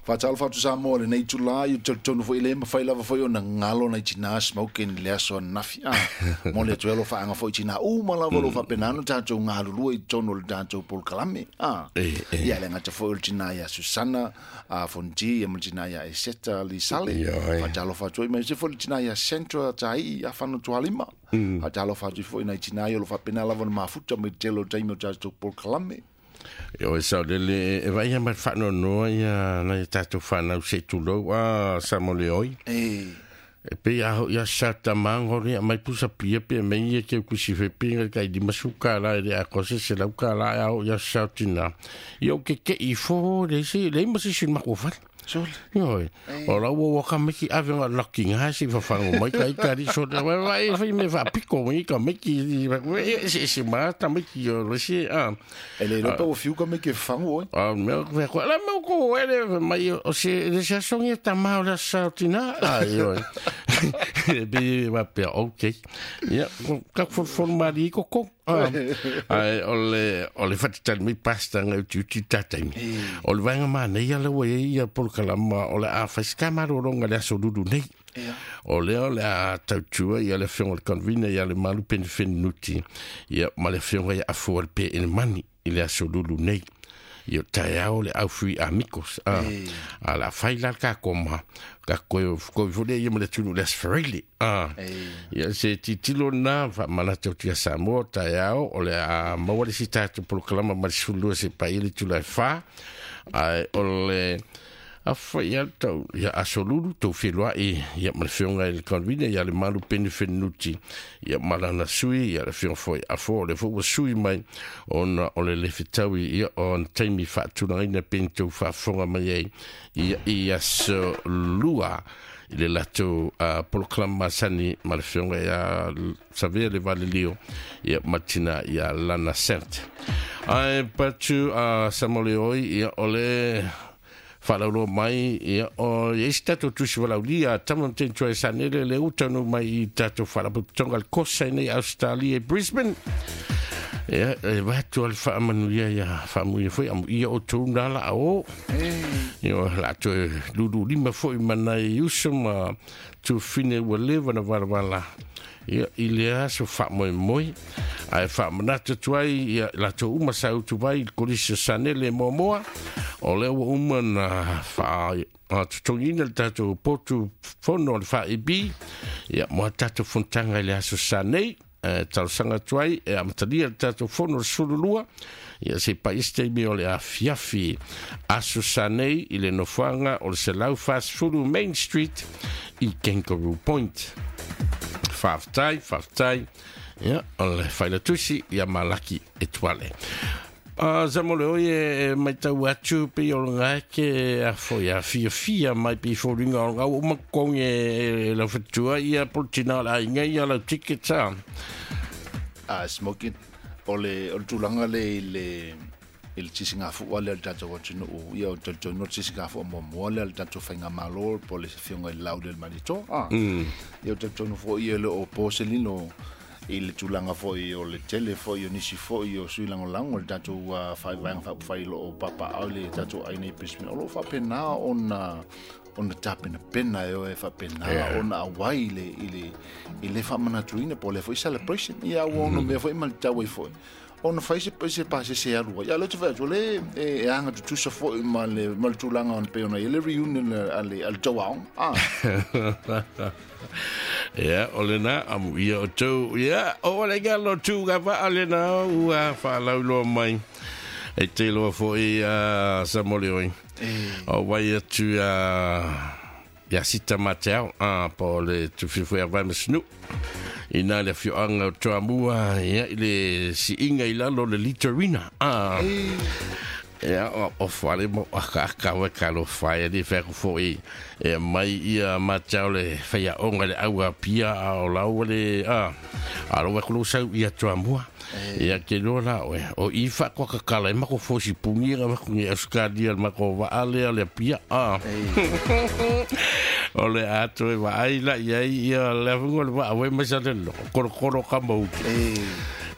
Faatalofa atu Samoa i lenei itula, ia talitonu foi e le mafai lava foi ona galo nai tina smoking i le aso ananafi. Ah, momoli atu ai alofaaga foi i tina uma lava o lo o faapena ona tatou galulue i totonu o le tatou polokalame. Ah, ia e le gata foi o le tina ia Susana Fonti ia ma le tina ia Eseta Lisale. Faatalofa atu ai aemaise foi le tina ia Sandra Taii Afano Tualima. Faatalofa atu foi i nai tina ia o lo o faapena lava ona mafuta mai le tele o taimi o tatou polokalame. Ioe saolele e vaai ma le faanoanoa ia nai a tatou fanau se i tulou a Samoleoi. E pei a hoi a sa tamago le mai pusa pia pe mei ia ke kusi fe pe ngai kai di masuka la e le a kose se lau ka la a hoi a sa tina. Ia o ke ke i fo le se le ma se sin ma ko fale. Sole. Ioe. O la ua ua ka meki ave nga laki nga se fafango mai ka i so le wa wa e fai me fa piko mai ka meki e se se ma ta meki o le se a. E le iloa pe ua fiu ka meki e fafango oi. A mea ko ko la me ko ele mai o se le se songi ta ma o la sa tina. A ioe. E be wa pe okay. Ia ka fo fo mari ko ko. Ai o le o le whatatali mai pasta ngai uti uti tataimi. O le vaenga mānei ala ua iai ia polokalama o le a whai ska maroro nga le aso lulu nei. O lea o le a tautua ia le afioga o le convener ia le Malu Penifeni ia ma le afioga ia Afua le PN Mani i le aso lulu nei. Ia taeao le aufui amigos. A, a la fai la ka koma. Ka koe koe fo le ia ma le tunu le asferele. A, ia se titilo na fa manatu atu ia Samoa taeao o le a maua le si tatou polokalama ma le 12 se paia le itula e 4. Ae o le afa ia tau ia aso lulu tou feloai ia ma le afioga i le convener ia le Malu Peni Fenuti ia ma lana sui ia le afioga foi Afo o le foi ua sui mai ona o le le fetaui ia o ana taimi faatulagaina pei tou faafofoga mai ai ia i aso lua i le latou polokalama masani ma le afioga ia Savea le Valelio ia ma tina ia Lana Sent. Ae patu a Samoleoi ia o le whaalauloa mai ia o ia isi tatou tusi walaulia a tama ma teni tuai sanele le utanu mai i tatou whaalapotopotoga le kosa i nei Australia i Brisbane. Ia, e watu al whaamanuia ia whaamuia foi amu ia o tou nā la o. Ia, la toe lulu lima foi mana i uso ma tufine ua leva na walawala. Ia, i le aso faamoemoe, ae faamanatu atu ai ia latou uma sa utu mai i le Kolisi o Sanele e Moamoa, o lea ua uma na faatotogiina le tatou potu fono o le FAEB, ia, mo a tatou fonotaga i le aso sa nei, e talosaga atu ai e amatalia le tatou fono le 12, ia se i pai isi taimi o le afiafi aso sa nei i le nofoaga o le 140 Main Street i Kangaroo Point. Faafetai, faafetai. Ia, o le failatusi ia Malaki Etuale. Sa mo le oi e matau atu pei o le ke a foi a fiafia mai pei foliga o le ua uma totogi e lau faletua ia po le tina o le aiga ia lau ticket a. A smoking o le o le tulaga le i le i le tisigafua lea o le tatou atunuu ia o le talitonu o le tisigafua muamua lea o le tatou faigamalo po o le afioga i le Lauli o le Malietoa a ia o le talitonu foi e le o po se lilo i le tulaga foi o le tele foi o nisi foi o sui lagolago o le tatou vaega faaupufai o lo o papaaao i le tatou aiga i Brisbane o lo o faapena ona ona tapenapena e o e faapena ona auai i le i le i le faamanatuina po o le foi celebration ia ua ono mea foi ma le tau ai foi ona fai se se pasese e alu ai. Ia lea ou te fai atu, o lea e aga tutusa foi ma le ma le tulaga ona pei ona i ai le reunion a le a le tou aoga. Ah. Ia, o lena, amu ia o tou, ia, o le galo tu ka vaa lena ua whaalauloa mai. E te loa foi a Samole oi. O vai atu a ia sita ma te ao, a po o le tufifu ia vai masinu. Ina le afioaga o Toamua, ia, i le siiga i lalo o le litorina. A, ia, o, o fale mo aka aka wa ka lo fai ali fa ko foi e mai ia ma te ao le whaiaonga le aua pia a o lau le a a lo wa ko sau ia Toamua. Ia ke loa la oe o i fa ko ka kala e mako fosi pungi ga ko ngi Australia mako wa ale ale pia a o le ato e wa ai la ia ia le afunga le wa awe ma sa le lo koro koro ka mau.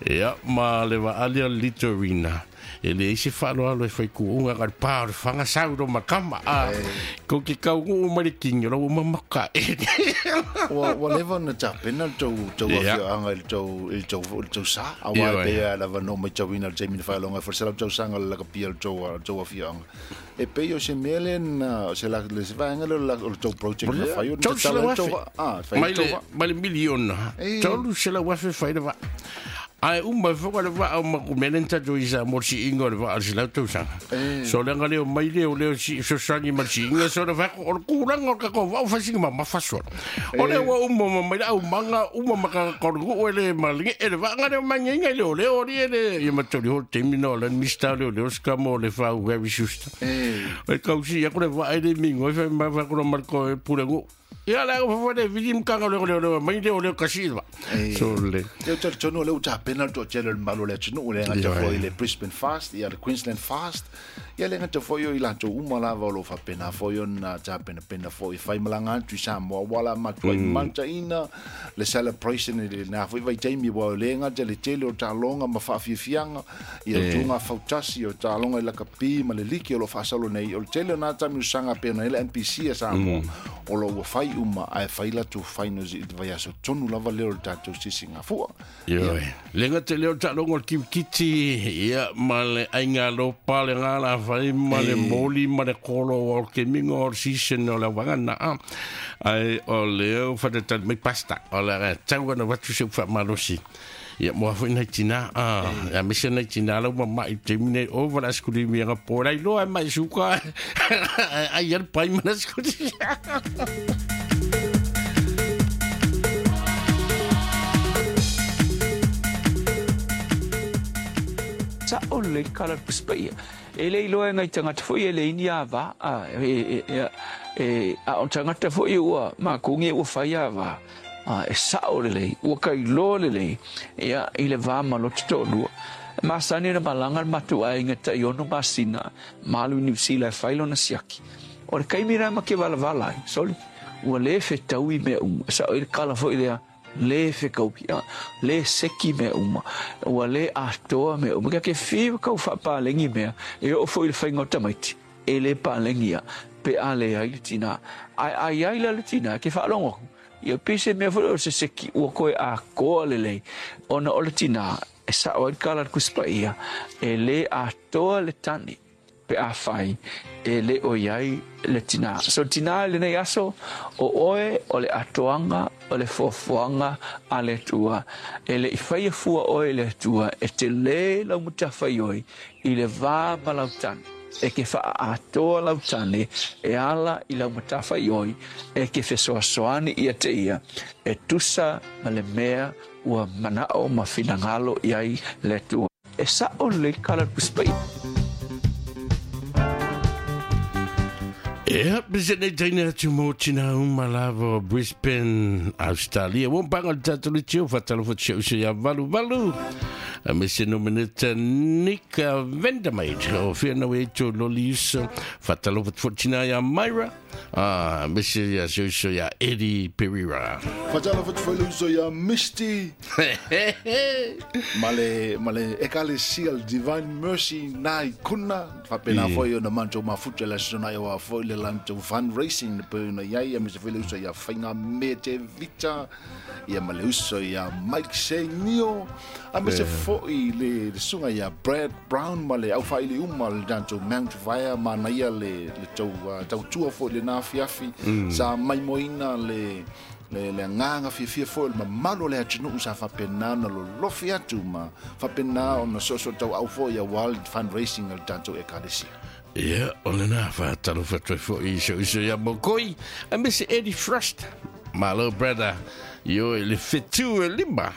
Ia ma le wa ale litorina. E leai se faaaloalo e faikuuga ka le pa o le faga sau lo makama a kou ke kaugu'u mai le kini o lau ua mamaka e. Ua leva ona tapena le tou afioaga i le tou sa, auā e pei lava lava na ou matauina i le taimi na faailoga ai foi le 100 tausaga o le lakapia o le tou afioaga. E pei o se mea lea na, se la, le se vaega lea o le tou project na fai o na tatala ai le tou vaa. Ah, fai le tou vaa. Mai le miliona, 300,000 fai le vaa. Ae uma ai foi le vaa o makumele na tatou i Samoa le siiga o le vaa o le 100 tausaga. So leaga leo mai leo leo si fesoasoani ma le siiga so le fai atu o le tulaga o le tatou vaa ua fai sina mamafa solo. O lea ua uma ma mai le aumaga uma ma tagata o le nuu e le ma le nee le vaa na leo mai nei nai leoleo alii e le ia ma toli ho le taimi na o le Minista o Leoleo se mo le fau Harry Schuster. E kausi atu le vaa e le migoi fai mai fai atu ma le koe pule nuu. Ia le au fai le vili mkanga leo leo leo mai leo leo kasi le vaa. So le. Ia talitonu o lea ua tapena le toatele o le mamalu o le atunuu, le gata foi i le Brisbane Fast, ia le Queensland Fast, ia le gata foi o i latou uma lava o lo o faapena foi ona tapenapena foi e faimalaga atu i Samoa, aua la matuai mataina le celebration i lena foi vaitaimi, aua e le gata le tele o taaloga ma faafiafiaga, ia o tuga fautasi, o taaloga i lakapi ma le liki o lo o faasolo nei, o le tele o na taimi o saga pei ona i ai le NPC a Samoa, o lo o ua fai uma ae fai latou finals i le vaiaso tonu lava lea o le tatou sisigafua. Ioe. Le gata lea o le taaloga o le kirikiti, ia, ma le aiga alopa, le galafai, ma le moli, ma le kolo o le kemiga o le season o le auvaga lena. Ae o lea ua faatalitali mai pasta, o le aga e tau ana avatu si ou faamalosi. Ia, moa foi nai tina, aemaise nai tina la ua mamai i le taimi nei, ova le asikulimi aga po, la iloa e mai suka, ai ai le pai ma le asikulimi. Sa'o lelei le kala o le Tusi Paia. E le iloa e nai tagata foi e leai ni ava, a o tagata foi ua makou nei ua fai ava, e sa'o lelei, ua kailoa lelei, ia, i le va ma lota to'alua. E masani ona malaga le matou aiga tai ono masina ma alu i Niu Sila e fai lona siaki. O le taimi lena ma ke valavala ai, soli, ua le fetaui mea uma. E sa'o ai le kala foi lea, le fekaui, a, le seki mea uma, ua le atoa mea uma. Kia ke fiu kau faapalegi mea, e oo foi i le faiga o tamaiti, e le palegi ia, pe a leai le tinā. Ae a i ai la le tinā, ke faalogo aku, ia pei se mea foi o se seki ua koe atoa lelei, ona o le tinā, e sa'o ai le kala a le Tusi Paia, e le atoa le tane pe afai e le o i ai le tinā. So tinā i lenei aso, o oe o le atoaga o le fuafuaga a le Atua. E le i faia fua oe i le Atua e telē lau matafaioi i le va ma lau tane. E ke faaatoa lau tane e ala i lau matafaioi e ke fesoasoani ia te ia e tusa ma le mea ua manao ma finagalo i ai le Atua. E sa'o lelei le kala o le Tusi Paia. Ia, pese nei taina atu mo tina uma lava o Brisbane, Australia. Ua mpanga le tatou le tio, whatalofa te uso ia valu valu. A me se nomeneta Nick Vandermeet o whenau e tō loli uso. Whatalofa te tina ia Myra. A me se ia se uso ia Eddie Pereira. Whatalofa te uso ia Misty. Ma le ekalesia le Divine Mercy nai kuna. Whapena foi o na manto mafuta le sona i wa foi le lanto fundraising le pei ona iai, a me se foi le uso ia Whainga me te Vita, ia ma le uso ia Mike Senio, a me se foi le sunga ia Brad Brown ma le au whaili uma le lanto Mount Vaea ma na ia le tau tua foi le nā fiafi, sa maimoina le le agaga fiafia foi o le mamalu o le atunuu sa faapena ona lolofi atu ma faapena ona soosoo tauau foi auā le fundraising a le tatou Ekalesia. Ia, o lena faatalofa atu ai foi i si ou uso ia Mokoi, aemaise Eddie Frost. Malo brother, ioe le fetu e lima.